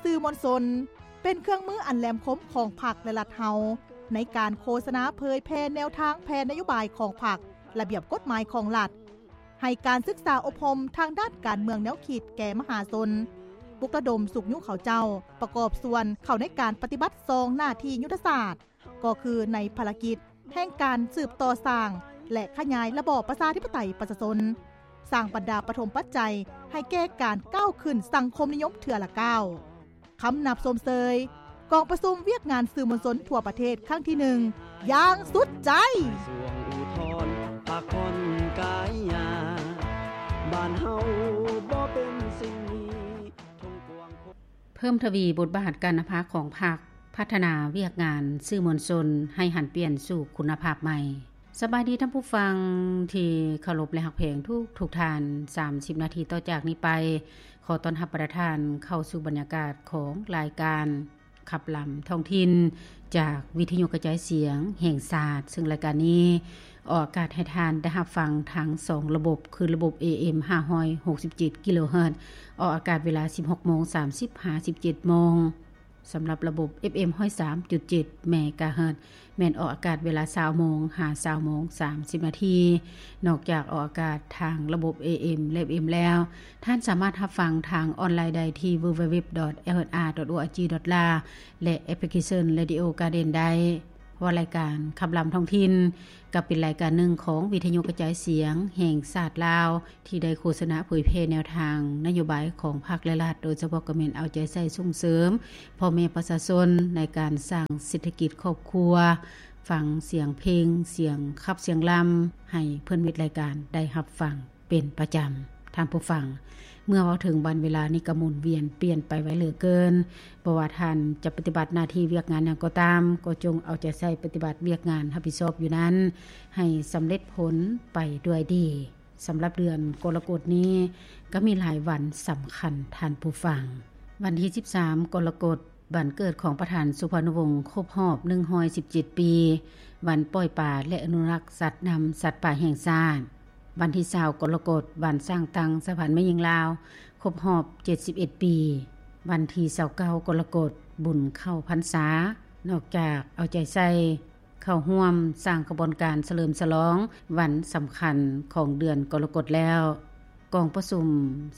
ສື່ມວນຊົນ ເປັນເຄື່ອງມືອັນແຫຼມຄົມຂອງພັກ ແລະ ລັດເຮົາ ໃນການໂຄສະນາເຜີຍແຜ່ແນວທາງແຜນນະໂຍບາຍຂອງພັກ, ລະບຽບກົດໝາຍຂອງລັດ, ໃຫ້ການສຶກສາອົບຮົມທາງດ້ານການເມືອງແນວຄິດແກ່ມະຫາຊົນ, ປຸກລະດົມຊຸກຍູ້ເຂົາເຈົ້າປະກອບສ່ວນເຂົ້າໃນການປະຕິບັດສອງໜ້າທີ່ຍຸດທະສາດ ກໍຄືໃນພາລະກິດແຫ່ງການສືບຕໍ່ສ້າງ ແລະ ຂະຫຍາຍລະບອບປະຊາທິປະໄຕປະຊາຊົນ, ສ້າງບັນດາປະຖົມປັດໄຈໃຫ້ແກ່ການກ້າວຂຶ້ນສັງຄົມນິຍົມເທື່ອລະກ້າວ. ຄຳນັບຊົມເຊີຍກອງປະຊຸມວຽກງານສື່ມວນຊົນທົ່ວປະເທດຄັ້ງທີໜຶ່ງຢ່າງສຸດໃຈ. ກະຊວງອຸທອນ ພັກຜ່ອນກາຍຍາ ບ້ານເຮົາບໍ່ເປັນສິ່ງນີ້ ເພີ່ມທະວີບົດບາດການນຳພາຂອງພັກ, ພັດທະນາວຽກງານສື່ມວນຊົນໃຫ້ຫັນປ່ຽນສູ່ຄຸນນະພາບໃໝ່. ສະບາຍດີທ່ານຜູ້ຟັງທີ່ເຄົາລົບ ແລະ ຮັກແພງທຸກໆທ່ານ. ສາມສິບນາທີຕໍ່ຈາກນີ້ໄປ ຂໍຕ້ອນຮັບບັນດາທ່ານເຂົ້າສູ່ບັນຍາກາດຂອງລາຍການ ຂັບລຳທ້ອງຖິ່ນ ຈາກວິທະຍຸກະຈາຍສຽງແຫ່ງຊາດ, ເຊິ່ງລາຍການນີ້ອອກອາກາດໃຫ້ທ່ານໄດ້ຮັບຟັງທັງສອງລະບົບ ຄືລະບົບ ເອເອັມ ຫ້າຮ້ອຍຫົກສິບເຈັດກິໂລເຮີດ ອອກອາກາດເວລາ ສິບຫົກໂມງສາມສິບ ຫາ ສິບເຈັດໂມງ, ສຳລັບລະບົບ ເອັຟເອັມ ຮ້ອຍສາມຈຸດເຈັດເມກາເຮີດ ແມ່ນອອກອາກາດເວລາ ຊາວໂມງ ຫາ ຊາວໂມງສາມສິບນາທີ. ນອກຈາກອອກອາກາດທາງລະບົບ ເອເອັມ ແລະ ເອັຟເອັມ ແລ້ວ, ທ່ານສາມາດຮັບຟັງທາງອອນລາຍໄດ້ທີ່ www.lra.org.la ແລະ ແອັບພລິເຄຊັນ Radio Garden ໄດ້. ວ່າລາຍການຂັບລຳທ້ອງຖິ່ນ ກໍເປັນລາຍການໜຶ່ງຂອງວິທະຍຸກະຈາຍສຽງແຫ່ງຊາດລາວ ທີ່ໄດ້ໂຄສະນາເຜີຍແຜ່ແນວທາງນະໂຍບາຍຂອງພັກ ແລະ ລັດ, ໂດຍສະເພາະກໍແມ່ນເອົາໃຈໃສ່ສົ່ງເສີມພໍ່ແມ່ປະຊາຊົນໃນການສ້າງເສດຖະກິດຄອບຄົວ, ຟັງສຽງເພງ, ສຽງຂັບສຽງລຳ ໃຫ້ເພື່ອນມິດລາຍການໄດ້ຮັບຟັງເປັນປະຈຳ. ທ່ານຜູ້ຟັງ, ເມື່ອເວົ້າເຖິງວັນເວລານີ້ກໍໝູນວຽນປ່ຽນໄປໄວເຫຼືອເກີນ. ບໍ່ວ່າທ່ານຈະປະຕິບັດໜ້າທີ່ວຽກງານຫຍັງກໍຕາມ, ກໍຈົ່ງເອົາໃຈໃສ່ປະຕິບັດວຽກງານຮັບຜິດຊອບຢູ່ນັ້ນ ໃຫ້ສຳເລັດຜົນໄປດ້ວຍດີ. ສຳລັບເດືອນກໍລະກົດນີ້ກໍມີຫຼາຍວັນສຳຄັນ, ທ່ານຜູ້ຟັງ. ວັນທີສິບສາມກໍລະກົດ, ວັນເກີດຂອງປະທານສຸພານຸວົງຄົບຮອບໜຶ່ງຮ້ອຍສິບເຈັດປີ, ວັນປ່ອຍປາ ແລະ ອະນຸລັກສັດນ້ຳສັດປ່າແຫ່ງຊາດ. ວັນທີຊາວກໍລະກົດ, ວັນສ້າງຕັ້ງສະຫະພັນແມ່ຍິງລາວຄົບຮອບເຈັດສິບເອັດປີ. ວັນທີຊາວເກົ້າກໍລະກົດ, ບຸນເຂົ້າພັນສາ. ນອກຈາກເອົາໃຈໃສ່ ເຂົ້າຮ່ວມສ້າງຂະບວນການສະເຫຼີມສະຫຼອງວັນສຳຄັນຂອງເດືອນກໍລະກົດແລ້ວ, ກອງປະຊຸມ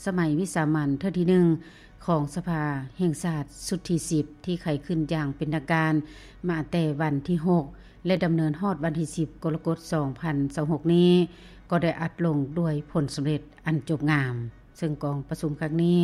ສະໄໝວິສາມັນເທື່ອທີໜຶ່ງຂອງສະພາແຫ່ງຊາດຊຸດທີສິບ ທີ່ໄຂຂຶ້ນຢ່າງເປັນທາງການມາແຕ່ວັນທີຫົກ ແລະ ດຳເນີນຮອດວັນທີສິບ ກໍລະກົດ ສອງພັນຊາວຫົກນີ້ ກໍໄດ້ອັດລົງດ້ວຍຜົນສຳເລັດອັນຈົບງາມ. ເຊິ່ງກອງປະຊຸມຄັ້ງນີ້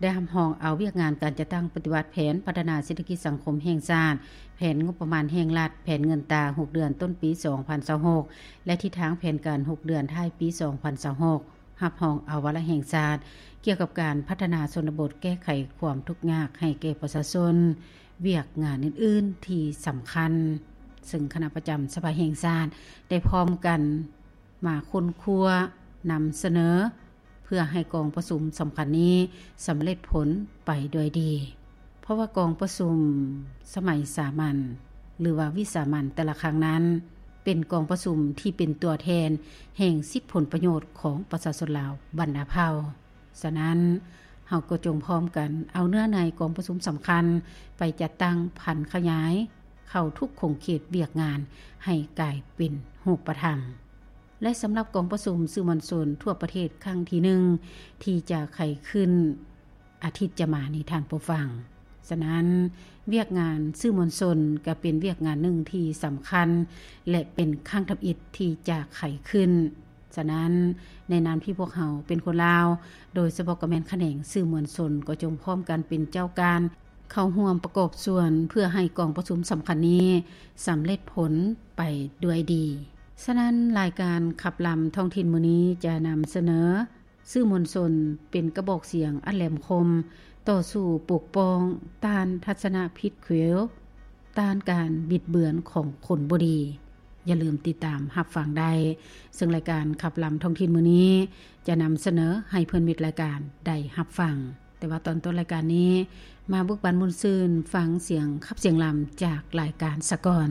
ໄດ້ຮັບຮອງເອົາວຽກງານການຈັດຕັ້ງປະຕິບັດແຜນພັດທະນາເສດຖະກິດສັງຄົມແຫ່ງຊາດ, ແຜນງົບປະມານແຫ່ງລັດ, ແຜນເງິນຕາຫົກເດືອນຕົ້ນປີສອງພັນຊາວຫົກ ແລະ ທິດທາງແຜນການຫົກເດືອນທ້າຍປີສອງພັນຊາວຫົກ, ຮັບຮອງເອົາວາລະແຫ່ງຊາດກ່ຽວກັບການພັດທະນາຊົນນະບົດ, ແກ້ໄຂຄວາມທຸກຍາກໃຫ້ແກ່ປະຊາຊົນ, ວຽກງານອື່ນໆທີ່ສຳຄັນ, ເຊິ່ງຄະນະປະຈຳສະພາແຫ່ງຊາດໄດ້ພ້ອມກັນ ມາຄົ້ນຄວ້ານຳສະເໜີ ເພື່ອໃຫ້ກອງປະຊຸມສຳຄັນນີ້ສຳເລັດຜົນໄປດ້ວຍດີ. ເພາະວ່າກອງປະຊຸມສະໄໝສາມັນ ຫຼືວ່າວິສາມັນແຕ່ລະຄັ້ງນັ້ນ ເປັນກອງປະຊຸມທີ່ເປັນຕົວແທນແຫ່ງສິດຜົນປະໂຫຍດຂອງປະຊາຊົນລາວບັນດາເຜົ່າ. ສະນັ້ນ, ເຮົາກໍຈົ່ງພ້ອມກັນເອົາເນື້ອໃນກອງປະຊຸມສຳຄັນໄປຈັດຕັ້ງຜັນຂະຫຍາຍເຂົ້າທຸກຂົງເຂດວຽກງານໃຫ້ກາຍເປັນຮູບປະທຳ. ແລະ ສຳລັບກອງປະຊຸມສື່ມວນຊົນທົ່ວປະເທດຄັ້ງທີໜຶ່ງ ທີ່ຈະໄຂຂຶ້ນອາທິດຈະມານີ້, ທ່ານຜູ້ຟັງ, ສະນັ້ນ, ວຽກງານສື່ມວນຊົນກໍເປັນວຽກງານໜຶ່ງທີ່ສຳຄັນ ແລະ ເປັນຄັ້ງທຳອິດທີ່ຈະໄຂຂຶ້ນ. ສະນັ້ນ, ໃນນາມທີ່ພວກເຮົາເປັນຄົນລາວ, ໂດຍສະເພາະກໍແມ່ນຂະແໜງສື່ມວນຊົນ, ກໍຈົ່ງພ້ອມກັນເປັນເຈົ້າການເຂົ້າຮ່ວມປະກອບສ່ວນ ເພື່ອໃຫ້ກອງປະຊຸມສຳຄັນນີ້ສຳເລັດຜົນໄປດ້ວຍດີ. ສະນັ້ນ, ລາຍການຂັບລຳທ້ອງຖິ່ນມື້ນີ້ຈະນຳສະເໜີ ສື່ມວນຊົນເປັນກະບອກສຽງອັນແຫຼມຄົມ ຕໍ່ສູ້ປົກປ້ອງຕ້ານທັດສະນະຜິດຂຽວ, ຕ້ານການບິດເບືອນຂອງຄົນບໍ່ດີ. ຢ່າລືມຕິດຕາມຮັບຟັງໄດ້, ເຊິ່ງລາຍການຂັບລຳທ້ອງຖິ່ນມື້ນີ້ຈະນຳສະເໜີໃຫ້ເພື່ອນມິດລາຍການໄດ້ຮັບຟັງ. ແຕ່ວ່າຕອນຕົ້ນລາຍການນີ້, ມາເບີກບານມ່ວນຊື່ນຟັງສຽງຂັບສຽງລຳຈາກລາຍການສາກ່ອນ.